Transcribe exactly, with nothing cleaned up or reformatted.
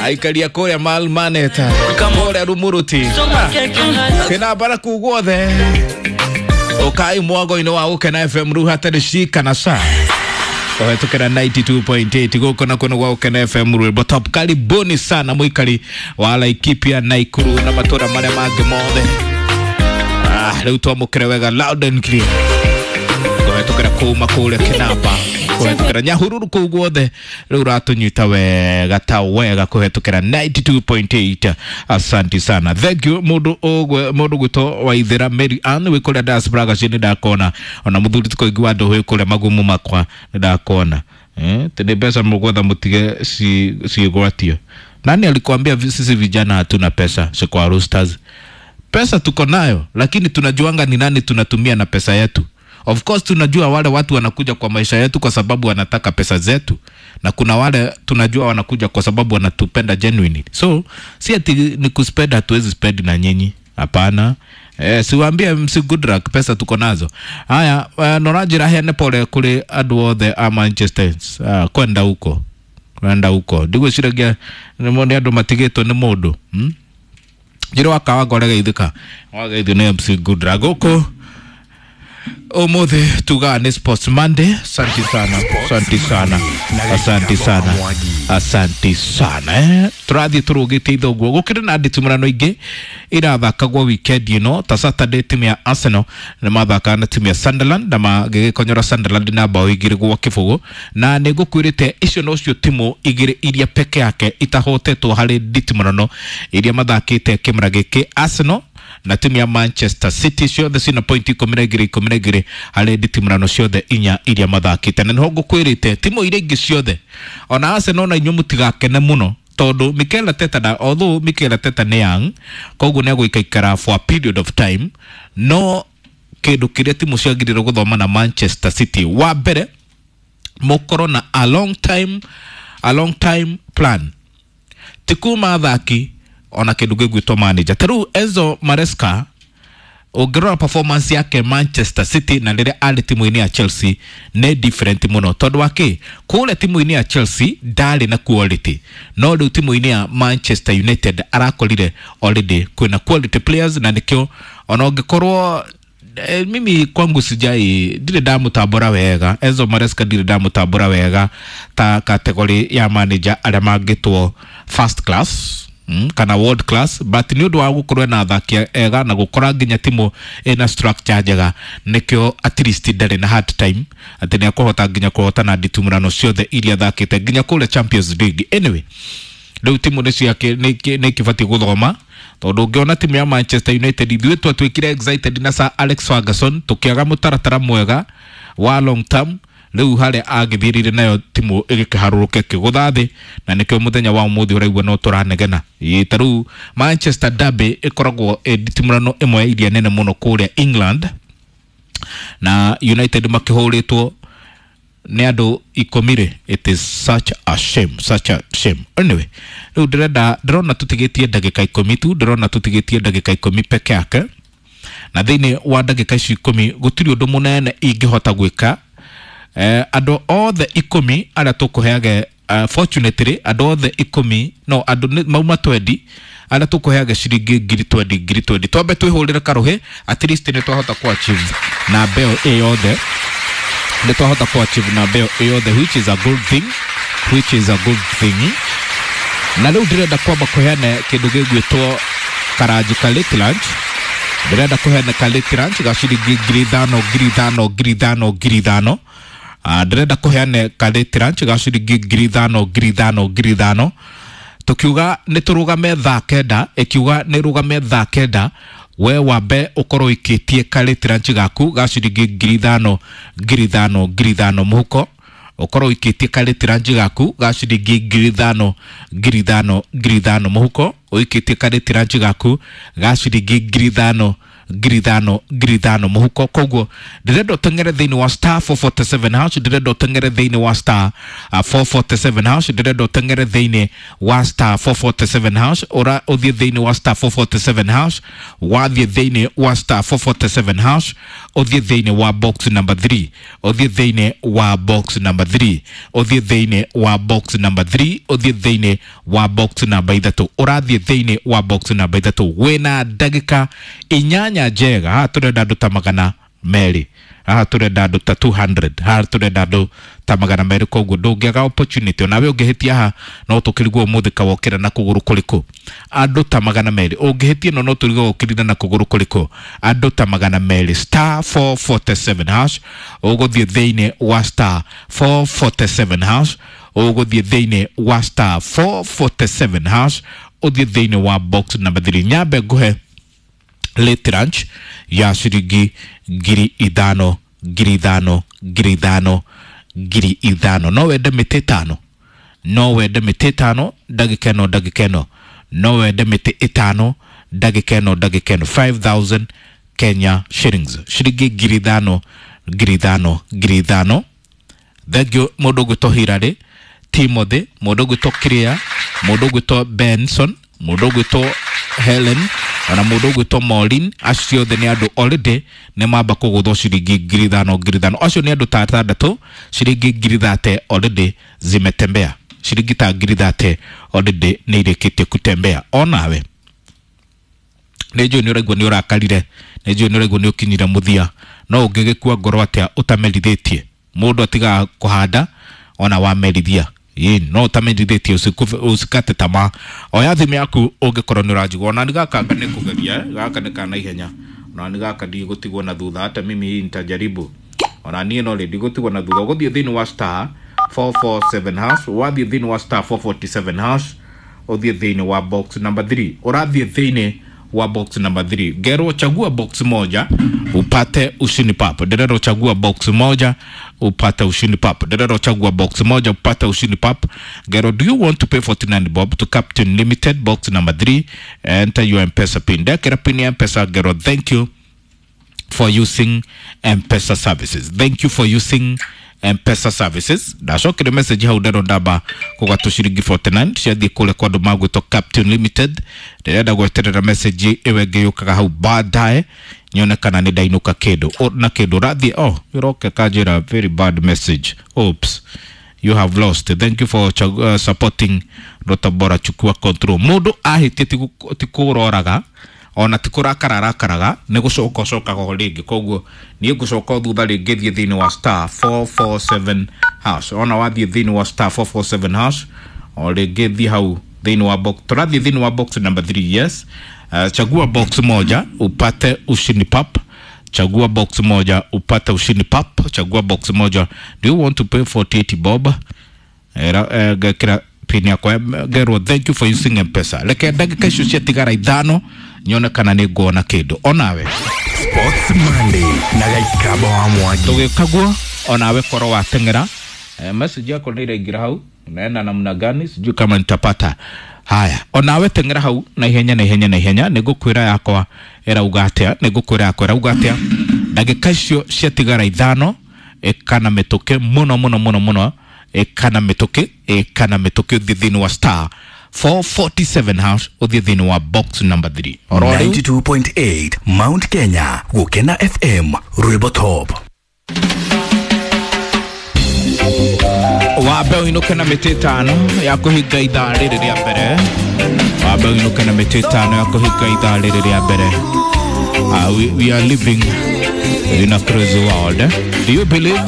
Aikaria kũrĩa Malmaneta, kũrĩa Rumuruti, kĩnambara kuu guothe. Ukai mwago-inĩ wa Gũkena F M rĩu hatarĩ cika na ca. Kũhetũkĩra ninety two point eight gũkũ na kũno gwa Gũkena F M rwĩmbo top. Karibuni sana mũikari wa Laikipia, Naikuru na matũra marĩa mangĩ mothe. Ah, rĩu twamũkĩre wega loud and clear. Kũhetũkĩra kuma kũrĩa Kĩnamba, kũhetũkĩra Nyahururu kũu guothe, rĩu ũratũnyita wega ta wega kũhetũkĩra ninety two point eight. Asante sana, thank you mũndũ ũgwe, mũndũ gwĩtwo Waithĩra Mary Ann wĩ kũrĩa diaspora gaciĩ nĩ ndakona, ona mũthuri ti kũingĩ wa andũ wĩ kũrĩa magumu makwa nĩ ndakona. Eh, tene mbeca mũgwetha mũtige ciĩgwatio. Nani alikwambia sisi vijana hatuna pesa? Si kwa Roosters. Pesa tuko nayo, lakini tunajuanga ni nani tunatumia na pesa yetu. Of course tunajua wale watu wanakuja kwa maisha yetu kwa sababu wanataka pesa zetu, na kuna wale tunajua wanakuja kwa sababu wanatupenda genuinely. So si ati ni kuspend, hatuwezi spend na nyinyi, hapana. Eh, siwaambie M C Goodluck pesa tuko nazo. Haya, eh, noranjira heane pole kuri andu othe a Manchester. Ah, kwenda huko. Kwenda huko. Ndigwiciragia nĩ andu matigĩtwo nĩ mũndũ. Hmm? Njĩra wakawa ngore geithĩka. Wageithio nĩ M C Goodluck gũkũ. Umuthi tugaga nĩ Sports Monday. Asante sana, asante sana, asante sana, asante sana. Eh, tũrathiĩ tũrũgĩte ithoguo. Gũkĩrĩ na nditimũrano ingĩ irathakagwo weekend ĩno, ta Saturday timu ya Arsenal nĩ mathakaga na timu ya Sunderland na magĩgĩkonyora Sunderland na bao igĩrĩ gwa kĩbũgũ, na nĩ ngũkwĩrĩte icio nocio timu igĩrĩ iria peke yake itahotetwo harĩ nditimũrano iria mathakĩte kĩmera gĩkĩ, Arsenal na timu ya Manchester City ciothe cina point ikũmi na igĩrĩ ikũmi na igĩrĩ harĩ nditimũrano ciothe inya iria mathakĩte. Na nĩho ngũkwĩrĩte timu iria ingĩ ciothe ona Arsenal na inyuĩ mũtigakene mũno tondũ Mikel Arteta na although Mikel Arteta nĩ young, koguo nĩ egũikaikara for a period of time, no kĩndũ kĩrĩa timu ciagĩrĩirwo gũthoma na Manchester City, wa mbere mũkorwo na a long time, a long time plan, ti kuma athaki ona kĩndũ gĩgwĩtwo manager. Ta rĩu Enzo Maresca ũngĩrora performance yake Manchester City na rĩrĩa arĩ timu-inĩ ya Chelsea nĩ different mũno, tondũ wa kĩ kũrĩa timu-inĩ ya Chelsea ndarĩ na quality, no rĩu timu-inĩ ya Manchester United arakorire already kwĩna quality players, na nĩkĩo ona ũngĩkorwo eh, mimi kwangu sijai ndirĩ ndamũtambũra wega Enzo Maresca, ndirĩ ndamũtambũra wega ta category ya manager arĩa mangĩtwo first class, mm, kana world class, but nĩ ũndũ wa gũkorwo na athaki ega na gũkora nginya timu ĩna structure njega, nĩkĩo at least ndarĩ na hard time atĩ nĩ akũhota nginya kũhotana nditimũrano ciothe iria athakĩte nginya kũrĩa Champions League. Anyway, rĩu timu nĩ ciake nĩ ikĩbatiĩ gũthoma, tondũ ũngĩona timu ya Manchester United ithuĩ twatuĩkire excited na Sir Alex Ferguson tũkĩaga mũtaratara mwega wa long term, rĩu harĩa agĩthirire nayo timu ĩgĩkĩharũrũka ĩkĩgũtha thĩ, na nĩkĩo mũthenya wa ũmũthĩ ũraigua no tũranegena. Ĩ, ta rĩu Manchester Derby ĩkoragwo ĩ nditimũrano ĩmwe ya iria nene mũno kũrĩa England, na United makĩhũrĩtwo nĩ andũ ikũmi rĩ, it is such a shame, such a shame. Anyway, rĩu ndĩrenda, ndĩrona tũtigĩtie ndagĩka ikũmi tu, ndĩrona tũtigĩtie ndagĩka ikũmi peke yake, na thĩinĩ wa ndagĩka ici ikũmi gũtirĩ ũndũ mũnene ingĩhota gwĩka. Eh, andũ othe ikũmi arĩa tũkũheage, uh, fortunately andũ othe ikũmi, no andũ mauma twendi arĩa tũkũheage ciringi ngiri twendi ngiri twendi, twambe twĩhũrĩre karũhĩ, at least nĩ twahota ku achieve na mbeo ĩ yothe, nĩ twahota ku achieve na mbeo ĩ yothe, which is a good thing, which is a good thing. Na rĩu ndĩrenda kwamba kũheana kĩndũ gĩgwĩtwo karanji ka late lunch, ndĩrenda kũheana ka late lunch ga ciringi ngiri ithano ngiri ithano ngiri ithano ngiri ithano. Ah, ndĩrenda kũheana ka late lunch ga ciringi ngiri ithano ngiri ithano ngiri ithano, tukiuga nĩ tũrũgame thaa kenda, ĩkiuga nĩ rũgame thaa kenda, we wambe ũkorwo ũikĩtie ka late lunch gaku ga ciringi ngiri ithano ngiri ithano ngiri ithano mũhuko, ũkorwo ũikĩtie ka late lunch gaku ga ciringi ngiri ithano ngiri ithano ngiri ithano mũhuko, ũikĩtie ka late lunch gaku ga ciringi ngiri ithano ngiri ithano ngiri ithano mũhuko. Koguo ndĩrenda ũteng'ere thĩinĩ wa star four forty seven hash, ndĩrenda ũteng'ere thĩinĩ wa star uh, four forty seven hash, ndĩrenda ũteng'ere thĩinĩ wa star four forty seven hash, ũra ũthiĩ thĩinĩ wa star four forty seven hash, wathiĩ thĩinĩ wa star four forty seven hash, ũthiĩ thĩinĩ wa box number three, ũthiĩ thĩinĩ wa box number three, ũthiĩ thĩinĩ wa box number three, ũthiĩ thĩinĩ wa box namba ithatũ, ũrathiĩ thĩinĩ wa box namba ithatũ wĩna ndagĩka inyanya njega. Haha tũrenda andũ ta magana merĩ, haha tũrenda andũ ta two hundred, haha tũrenda andũ ta magana merĩ. Koguo ndũngĩaga opportunity onawe ũngĩhĩtia haha no tũkĩrigwo ũmũthĩ kawokĩra na kũgũrũ kũrĩkũ. Andũ ta magana merĩ ũngĩhĩtia ĩno no tũrigwo ũkĩrire na kũgũrũ kũrĩkũ. Andũ ta magana merĩ star four forty seven hash, ũgũthiĩ thĩinĩ wa star four forty seven hash, ũgũthiĩ thĩinĩ wa star four forty seven hash, ũthiĩ thĩinĩ wa box number three. Nyambe nguhe late lunch ya ciringi ngiri ithano ngiri ithano ngiri ithano ngiri ithano. No wende mĩtĩ ĩtano, no wende mĩtĩ ĩtano ndagĩka ĩno ndagĩka ĩno, no wende mĩtĩ ĩtano ndagĩka ĩno ndagĩka ĩno, five thousand Kenya shillings, ciringi ngiri ithano ngiri ithano ngiri ithano. Thengiũ mũndũ ũgwĩtwo Hilary Timothy, mũndũ ũgwĩtwo Kiria, mũndũ ũgwĩtwo Benson, mũndũ ũgwĩtwo Helen, ona mũndũ ũgwĩtwo Maureen. Acio othe nĩ andũ already nĩ mamba kũgũthwo ciringi ngiri ithano ngiri ithano. Acio nĩ andũ ta atandatũ, ciringi ngiri thate already zimetembea, ciringi ta ngiri thate already nĩ irĩkĩtie kutembea. Onawe nĩ njũĩ nĩ ũraigua nĩ ũrakarire, nĩ njũĩ nĩ ũraigua nĩ ũkinyire mũthia, no ũngĩgĩkua ngoro atĩa ũtamerithĩtie? Mũndũ atigaga kũhanda ona wamerithia. Ĩĩ, no ũtamerithĩtie usikate tamaa. Oya thimũ yaku ũngĩkorwo nĩ ũranjigua. Ona nĩ gaka nĩ kũgeria, eh, gaka nĩ ka naihenya, ona nĩ gaka ndigũtigwo na thutha, hata mimi hii nitajaribu. Ona niĩ no rĩ ndigũtigwo na thutha. Ũgũthiĩ thĩinĩ wa star four four seven hash, wathiĩ thĩinĩ wa star four forty seven hash, ũthiĩ thĩinĩ wa box number three, ũrathiĩ thĩinĩ wa box number three. Ngero chagua box moja upate ushindi pap. Nderero chagua box moja upate ushindi pap. Nderero chagua box moja upate ushindi pap. Ngero, do you want to pay forty-nine bob to Captain Limited box number three? Enter your M-Pesa pin. Ndekera pin ya M-Pesa. Ngero, thank you for using M-Pesa services. Thank you for using M-Pesa services. Ndacokire message hau ndero ndamba kũgatũ ciringi forty-nine ciathiĩ kũrĩa kwa andũ magwĩtwo Captain Limited. Ndĩrenda gweterera message ĩyo ĩngĩ yũkaga hau baadaye nyone kana nĩ ndainũka kĩndũ O, na kĩndũ ũrathiĩ. Oh, ũroke kanjĩra very bad message. Oops, you have lost. Thank you for uh, supporting Ndoto Bora. Chukua control. Mũndũ ahĩtie ti kũroraga ona ti kũrakara arakaraga, nĩ gũcoka ũcokaga o rĩngĩ. Koguo niĩ ngũcoka o thutha rĩngĩ thiĩ thĩinĩ wa star four four seven hash. Ona wathiĩ thĩinĩ wa star four four seven hash o rĩngĩ thiĩ hau thĩinĩ wa box. Tũrathiĩ thĩinĩ wa box number three. Yes. Uh, chagua box moja upate ushindi pap. Chagua box moja upate ushindi pap. Chagua box moja. Do you want to pay forty-eight bob? Era eh, gekira pin yakwa. Gerwo, thank you for using M-Pesa. Reke ndagĩka icio ciatigara ithano nyone kana nĩ nguona kĩndũ. Onawe Sports Monday na Gaikaba wa Mwangi. Tũgĩkaguo onawe korwo wateng'era. Eh, message yako nĩ iraingĩra hau, naenda namna gani sijui kama nitapata. Haya, onawe teng'era hau na ihenya na ihenya na ihenya. Nĩ ngũkwĩra yakwa ĩrauga atĩa, nĩ ngũkwĩra yakwa ĩrauga atĩa. Ndagĩka icio ciatigara ithano, ĩka na mĩtũkĩ mũno mũno mũno mũno, ĩka na mĩtũkĩ, ĩka na mĩtũkĩ ũthiĩ thĩinĩ wa star four forty-seven hash, ũthiĩ thĩinĩ wa box number three. Oro rĩu ninety-two point eight Mount Kenya, Gũkena F M, Rwĩmbo Top. Wambe ũinũke na mĩtĩ ĩtano ya kũhinga ithaa rĩrĩ rĩa mbere. Wambe ũinũke na mĩtĩ ĩtano ya kũhinga ithaa rĩrĩ rĩa mbere. Uh, we, we are living in a crazy world. Do you believe?